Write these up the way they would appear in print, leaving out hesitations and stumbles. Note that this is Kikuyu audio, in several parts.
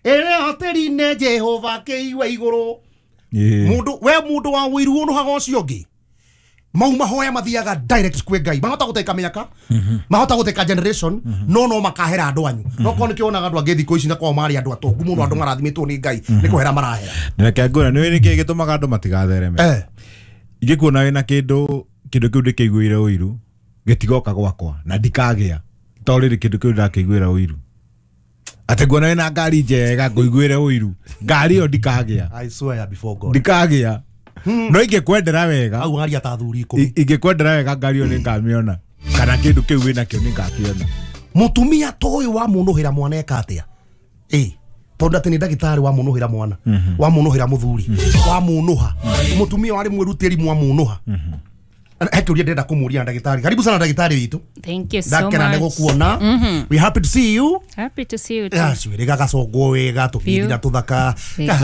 Ĩrĩa atĩri-inĩ Jehova kĩigue igũrũ. Mundu we mundu wa wiru unuhaga ucio ngi mau mahoya mathiaga direct kwi Ngai mahota guteka miaka mahota guteka generation no no makahera andu anyu no ko nikionaga andu angi thiku ici na kwao mari andu atongu muno andu marathimitwo ni Ngai ni kuhera marahera. Reke ngwĩre nĩ nĩkĩ gĩtũmaga andũ matigathereme. Ingĩkuona wĩna kĩndũ kĩu ndĩkĩiguĩre ũiru gĩtigoka gwakwa na ndikagĩa tondũ rĩrĩ kĩndũ kĩu ndakĩiguĩra ũiru atĩ nguona wĩna ngari njega ngũiguĩre ũiru ngari ĩyo ndikagĩa. I swear before God ndikagĩa. No ingĩkwendera wega au aria ta athuri 10 ingĩkwendera wega ngari ĩyo nĩngamĩona kana kĩndũ kĩu wĩnakĩo nĩngakĩona. Mũtumia ta ũyũ wa mũnũhĩra mwana eka atĩa? Tondũ atĩ nĩ ndagĩtarĩ wa mũnũhĩra mwana wa mũnũhĩra mũthuri wa mũnũha mũtumia warĩ mwĩrutĩri mwa mũnũha. He kĩũria ndĩrenda kũmũria ndagĩtarĩ. Karibu sana ndagĩtarĩ witũ. Thank you so much. Ndakena nĩ gũkuona. We happy to see you. Happy to see you too. Gacwĩrĩ gagacongwo wega tũbithira tũthaka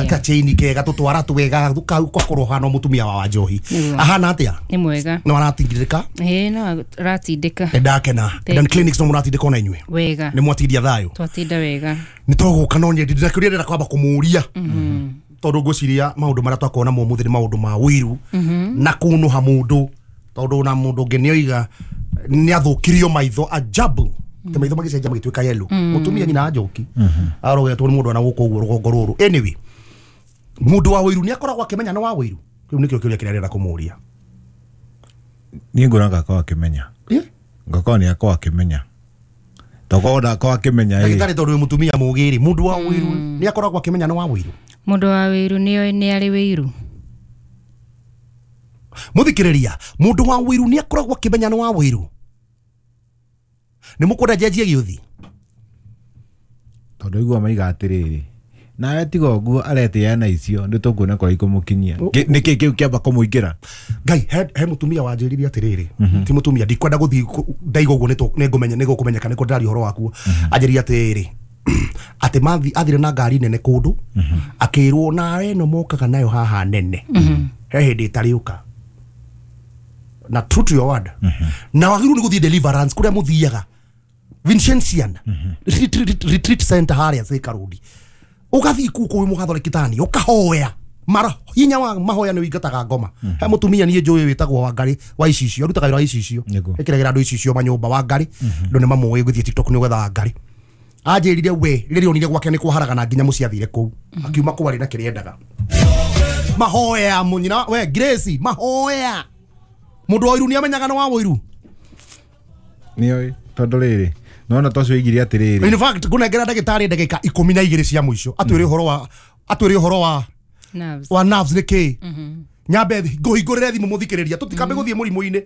gachaini kega tũtwara twega tũgakorwo hana mũtumia wa Wanjohi. Ahana atĩa? Nĩ mwega. No aratingirĩka? Ĩĩ no aratindĩka. Ndakena. Eden Clinics no mũratindĩka ona inyuĩ? Wega. Nĩ mwatindia thayũ? Twatinda wega. Nĩ tũgũka no nyendi ndĩrakĩũria ndĩrenda kwamba kũmũria. Tondũ ngwĩciria maũndũ marĩa twakorwo namo ũmũthĩ nĩ maũndũ ma ũiru na kũnũha mũndũ tondũ na mũndũ ũngĩ nĩoiga nĩathũkirio maitho ajabu te maitho magĩcenjia magĩtuĩka yellow. Mũtumia nyina Njoki arogetwo nĩ mũndũ ana gũkũ ũguo rũgongo rũrũ. Anyway, mũndũ wa ũiru nĩakoragwo akĩmenya nĩ wa ũiru. Kĩu nĩkĩo kĩũria kĩrĩa arenda kũmũria. Niĩ nguona ngakorwo akĩmenya. Ngakorwo nĩakorwo akĩmenya. Tokorwo ndakorwo akĩmenya. Ndagĩtarĩ tondũ wĩ mũtumia mũgĩ rĩ, mũndũ wa ũiru nĩakoragwo akĩmenya nĩ wa ũiru? Mũndũ wa ũiru nĩoĩ nĩ arĩ ũiru. Muthikiriria mundu wa wiru ni akoragwo akimenya ni wa wiru ni mukwenda njenjie giuthi tondu igua maiga atiriri nawe tiga ũguo aretĩa na icio nĩ tũkuona kũrĩa ikũmũkinyia nĩkĩ kĩu kĩamba kũmũingĩra. Ngai he mũtumia wanjĩrire atĩrĩrĩ ti mũtumia ndikwenda gũthiĩ ndaiga ũguo nĩngũmenya nĩgũkũmenyeka nĩkũ ndĩraria ũhoro wakuo. Anjĩrire atĩrĩrĩ atĩ mathi athire na ngari nene kũndũ akĩrwo nawe ĩno mokaga nayo haha nene he hĩndĩ ĩtarĩũka na true to your word. Na wagĩrĩirwo nĩ gũthiĩ deliverance kũrĩa mũthiaga Vincentian retreat center harĩa Thika Road ũgathiĩ kũu kwĩ mũgathoreki tani ũkahoya mara hinya wa mahoya nĩ ũingataga ngoma. He mũtumia niĩ njũĩ wĩtagwo Wangari wa icicio arutaga wĩra wa icicio ĩkĩragĩra andũ icicio manyũmba Wangari andũ nĩ mamũĩ gũthiĩ TikTok nĩ gwetha Wangari. Anjĩrire we rĩrĩa onire gwake nĩ kwaharagana nginya mũciĩ athire kũu akiuma kũu arĩ na kĩrĩa endaga. Mahoya mũnyina we Grace mahoya mundu wa ũiru nĩ amenyaga nĩ wa ũiru nĩoĩ tondũ rĩrĩ nona tocio igiri atĩrĩrĩ. In fact ngũnengera ndagĩtarĩ ndagĩka 12 cia mũico atwĩre ũhoro wa atwĩre ũhoro wa nerves wa nerves nĩ kĩ nyambe ngũhingũrĩre thimũ mũthikĩrĩria tũtikambe gũthiĩ mũrimũ-inĩ.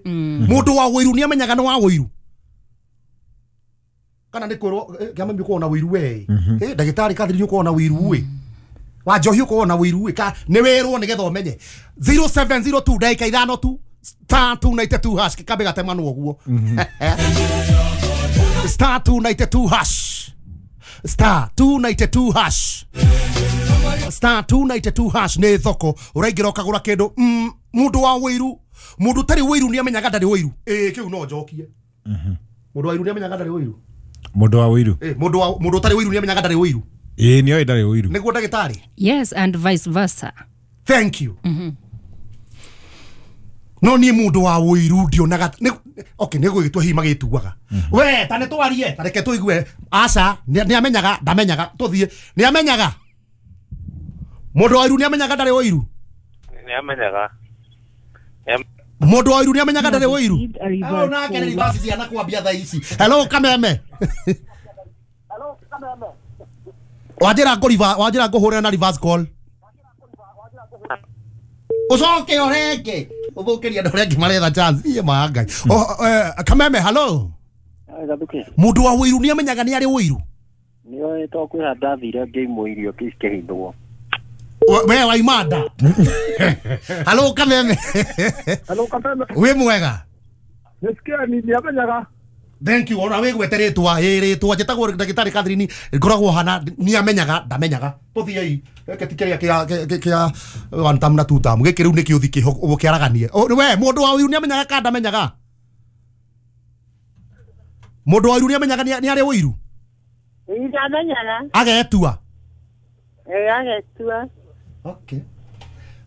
Mũndũ wa ũiru nĩ amenyaga nĩ wa ũiru kana nĩ kwĩrwo kĩama nĩ na ũiru we ndagĩtarĩ Catherine ũkorwo na ũiru we wa Njohi ũkorwo na ũiru we nĩ wĩrwo nĩgetha ũmenye 0702 ndagĩka ithano tu star 292 hash kikabe gatemanwo guo star 292 hash star 292 hash star 292 hash nĩ thoko ũraingĩra ũkagũra kĩndũ. Mũndũ wa ũiru mũndũ ũtarĩ ũiru nĩ amenyaga ndarĩ ũiru. Kĩu no njokie. Mũndũ wa ũiru nĩ amenyaga ndarĩ ũiru. Mũndũ wa ũiru mũndũ ũtarĩ ũiru nĩ amenyaga ndarĩ ũiru. Nĩoĩ ndarĩ ũiru nĩguo ndagĩtarĩ. Yes and vice versa. Thank you. No niĩ mũndũ wa ũiru ndionaga okay nĩ gũgĩtua hihi magĩtuaga we ta nĩ twarie ta reke tũigue aca nĩ amenyaga ndamenyaga tũthiĩ nĩ amenyaga mũndũ wa ũiru nĩ amenyaga ndarĩ ũiru nĩ amenyaga mũndũ wa ũiru nĩ amenyaga ndarĩ ũiru. Hello nake nĩ reverse ciana kwambia thaa ici. Hello Kameme. Hello Kameme. Wanjĩra wanjĩra ngũhũrĩra na reverse call ucoke orenge uthukiria andu aria angi maretha chance iye ma Ngai. Kameme hello. Mundu wa ũiru ni amenyaga ni ari ũiru nioĩ to kwĩ handũ ndathire ngĩimwo irio cikĩhithwo. We wa imanda. Hello Kameme. Hello Kameme. Wĩ mwega? Nĩsikia ni amenyaga. Thank you. Ona wĩgwete rĩtwa rĩtwa njĩtagwo ndagĩtarĩ Catherine ngoragwo hana ni amenyaga ndamenyaga tũthiei gĩkĩ ti kĩrĩa kĩa one term na two term gĩkĩ rĩu nĩ kĩũthi kĩho ũkĩaraganie. We mũndũ wa ũiru nĩ amenyaga kana ndamenyaga? Mũndũ wa ũiru nĩ amenyaga nĩ arĩ ũiru? Ndamenyaga. Agetua. Agetua. Okay.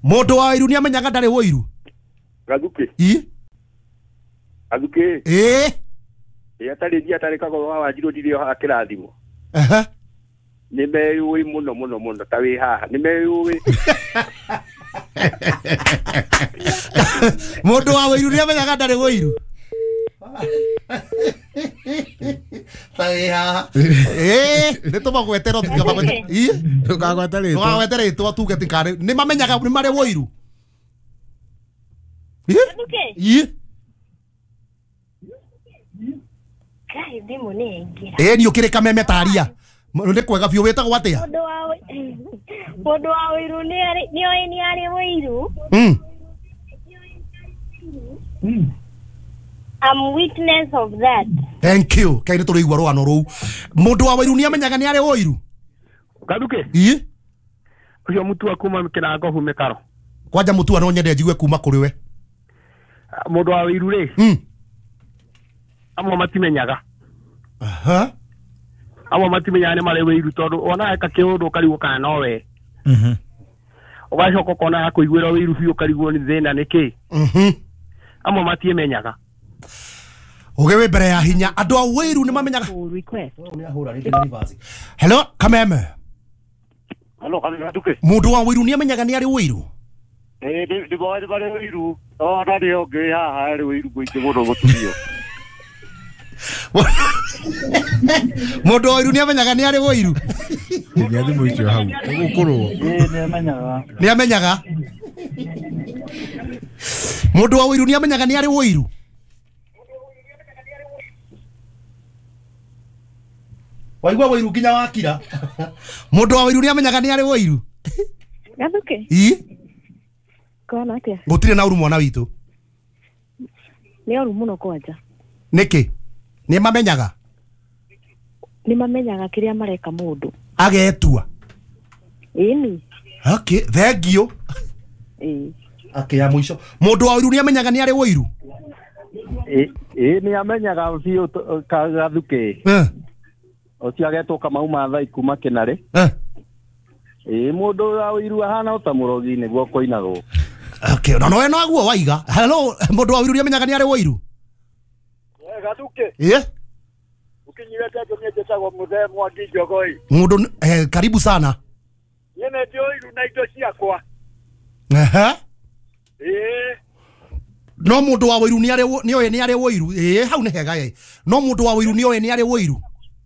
Mundu wa wĩiru nĩamenyaga ndarĩ wĩiru. Gathuki. Ii. Gathuki. Ĩĩ. Ĩ atarĩ ndia atarĩ kago wa Wanjirũ ndirĩ o kĩrathimo. Aha. Nĩ meyũĩ mũno mũno mũno ta wĩ haha. Nĩ meyũĩ. Mundu wa wĩiru nĩamenyaga ndarĩ wĩiru. Ta wĩ haha. Ĩĩ, nĩ tũmagwete no tũtikamagwete. Ii. Ndũkagwete rĩtwa. Ndũkagwete rĩtwa tuge ti karĩ. Nĩ mamenyaga nĩ marĩ wĩiru. Ii. Ii. Kai thimũ nĩ yaingĩra. Ĩĩ nĩ ũkĩrĩ kameme taria. Nĩ kwega biũ wĩtagwo atĩa? Mũndũ wa wĩiru nĩoĩ nĩ arĩ wĩiru. I'm witness of that. Thank you. Kai nĩ tũrĩigua rũgano rũu. Mũndũ wa wĩiru nĩamenyaga nĩ arĩ wĩiru. Gathuki. Ii. Ũcio Mutua kuma Kĩrango Mĩkaro. Kwanja Mutua no nyende njigue kuma kũrĩ we. Mũndũ wa wĩiru rĩ. Amwe matimenyaga. Aha. Amwe matimenyaga nĩ marĩ wĩiru tondũ ona eka kĩũndũ ũkarigwo kana no we. Ũgacoka ũkona akũiguĩra wĩiru biũ ũkarigwo nĩ thĩna nĩ kĩ. Amwe matimenyaga. Ũgĩ wĩ mbere ya hinya andũ a wĩiru nĩ mamenyaga. Hello Kameme. Hello Kameme. Mũndũ wa wĩiru nĩ amenyaga nĩ arĩ wĩiru. Ĩĩ nĩ marĩ wĩiru. Ona nĩ ũngĩ haha arĩ wĩiru mũingĩ mũno mũtumia. Mũndũ wa wĩiru nĩ amenyaga nĩ arĩ wĩiru. Nginya thimũ icio hau ũgũkũrwo. Ĩĩ nĩ amenyaga. Nĩ amenyaga. Mũndũ wa wĩiru nĩ amenyaga nĩ arĩ wĩiru. Waigua wĩiru nginya wakira. Mũndũ wa wĩiru nĩ amenyaga nĩ arĩ wĩiru. Gathuki. Ii. Kwana atĩa? Gũtirĩ na ũru mwana witũ. Nĩ ũru mũno kwanja. Nĩkĩ? Nĩ mamenyaga? Nĩ mamenyaga kĩrĩa mareka mũndũ. Agetua. Ĩni. Okay, thank you. Ĩĩ. Okay, ya mũico. Mũndũ wa wĩiru nĩ amenyaga nĩ arĩ wĩiru? Ĩĩ nĩ amenyaga biũ Gathuki. Ũcio agetwo Kamau Mathai kuma Kĩnarĩ. Ĩĩ mũndũ wa wĩiru ahana ota mũrogi nĩguo kũinagwo. Okay, no no no waiga. Hello, mũndũ wa wĩiru nĩ amenyaga nĩ arĩ wĩiru? Gathuki. Ĩĩ. Ukinyirete niĩ njĩtagwo Mũthee Mwangi Njogoi. Mũndũ karibu sana. Niĩ nĩ ndĩ ũiru na indo ciakwa. Aha. Ĩĩ. No mũndũ wa wĩiru nĩ arĩ nĩoĩ nĩ arĩ wĩiru. Ĩĩ hau nĩ hega ĩ. No mũndũ wa wĩiru nĩoĩ nĩ arĩ wĩiru.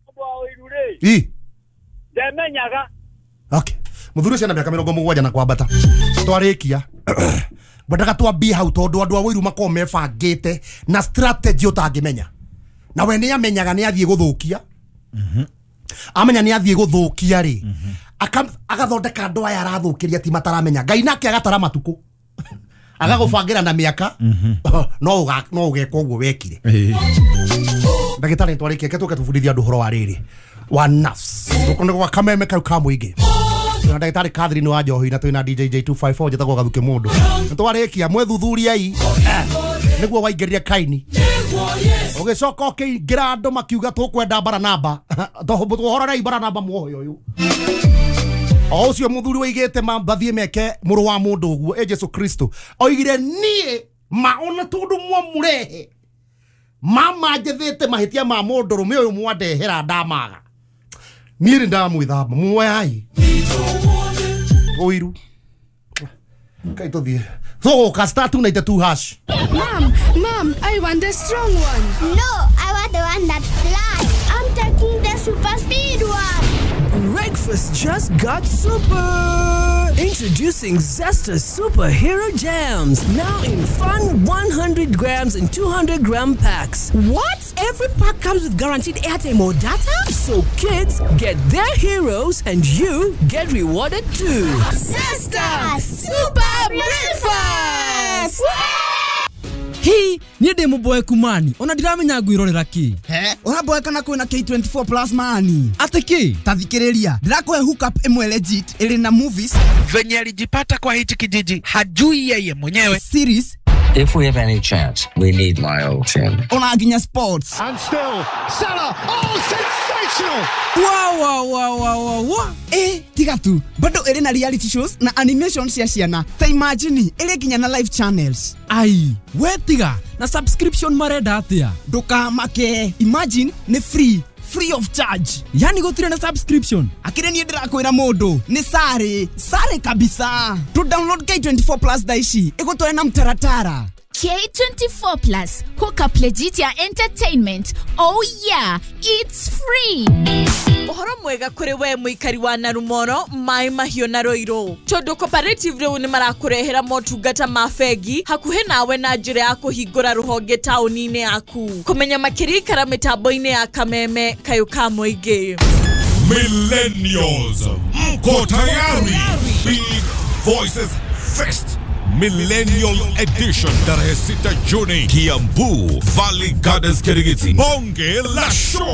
Mũndũ wa wĩiru rĩ. Ĩ. Ndemenyaga. Okay. Mũthuri ũcio na mĩaka 70 na kwambata. Twarĩkia. Ngwendaga twambie hau tondũ andũ a wĩiru makoragwo mebangĩte na strategy ũtangĩmenya. Na we nĩ amenyaga nĩ athiĩ gũthũkia. Amenya nĩ athiĩ gũthũkia rĩ. Agathondeka andũ aya arathũkĩria ti mataramenya. Ngai nake agatara matukũ. Agagũbangĩra na mĩaka. No ũgeka ũguo wekire. Ndagĩtarĩ nĩtwarĩkia reke tũke tũbundithie andũ ũhoro wa rĩrĩ. Wa nafs. Gũkũ nĩ gwa Kameme kau ka mũingĩ. Na ndagĩtarĩ Catherine wa Njohi na twĩna DJ J254 njĩtagwo Gathuki mũndũ. Nĩtwarĩkia mwethuthuriai nĩguo waingĩrire Kaini. Ũgĩcoka ũkĩingĩra andũ makiuga tũkwenda Baranaba. Tũhororei Baranaba muoyo ũyũ. O ũcio mũthuri waigĩte mathiĩ meke mũrũ wa mũndũ ũguo ĩ Jesu Kristo. Oigire niĩ ma ona tondũ mwamũrehe mama njethete mahĩtia ma mũndũrũme ũyũ mwandehera ndamaga. Niĩ nĩ ndamwĩthamba muoyai. Ũiru. Kai tũthiĩ. Tũgũka star 292 hash. Mom, I want the strong one. No, I want the one that flies. I'm taking the super speed one. Breakfast just got super. Introducing Zesta Superhero Jams, now in fun 100 grams and 200 gram packs. What? Every pack comes with guaranteed airtime or data? So kids get their heroes and you get rewarded too. Zesta Super Breakfast! Hi, niĩ ndĩ mũboeku mani ona ndiramenya ngwĩrorera kĩ. He, ũraboeka na kwĩna K24 plus mani. Atĩ kĩ? Ta thikĩrĩria, ndĩrakũhe hookup ĩmwe legit ĩrĩ na movies. Venye alijipata kwa hichi kijiji hajui yeye mwenyewe. Series. If we have any chance, we need my old team. Ona nginya sports. And still, Salah, oh, sensational! Sensational! Wa wa wa wa wa wa. Tiga tu bado ĩrĩ na reality shows na animation cia ciana. Ta imagine ĩrĩ nginya na live channels. Ai, we tiga na subscription marenda atia? Ndũkamake, imagine nĩ free, free of charge. Yani gũtirĩ na subscription. Akĩrĩ niĩ ndĩrakwĩra mũndũ nĩ sare sare kabisa. Tu download K24 Plus thaa ici ĩgũtware na mtaratara. K24 Plus, hook up legit ya entertainment. Oh yeah, it's free. Ũhoro mwega kũrĩ we mũikari wa Narumoro, Maĩ Mahiũ na Ruiru, tondũ Cooperative rĩu nĩ marakũrehera motungata ma bengi hakuhĩ nawe na njĩra ya kũhingũra rũhonge taũni-inĩ yaku. Kũmenya makĩria ikara mĩtambo-inĩ ya Kameme kayũ ka mũingĩ. Millennials, mko tayari? Big Voices Fest Millennial Edition tarehe 6 Juni, Kiambu Valley Gardens, Kirigiti. Bonge la show.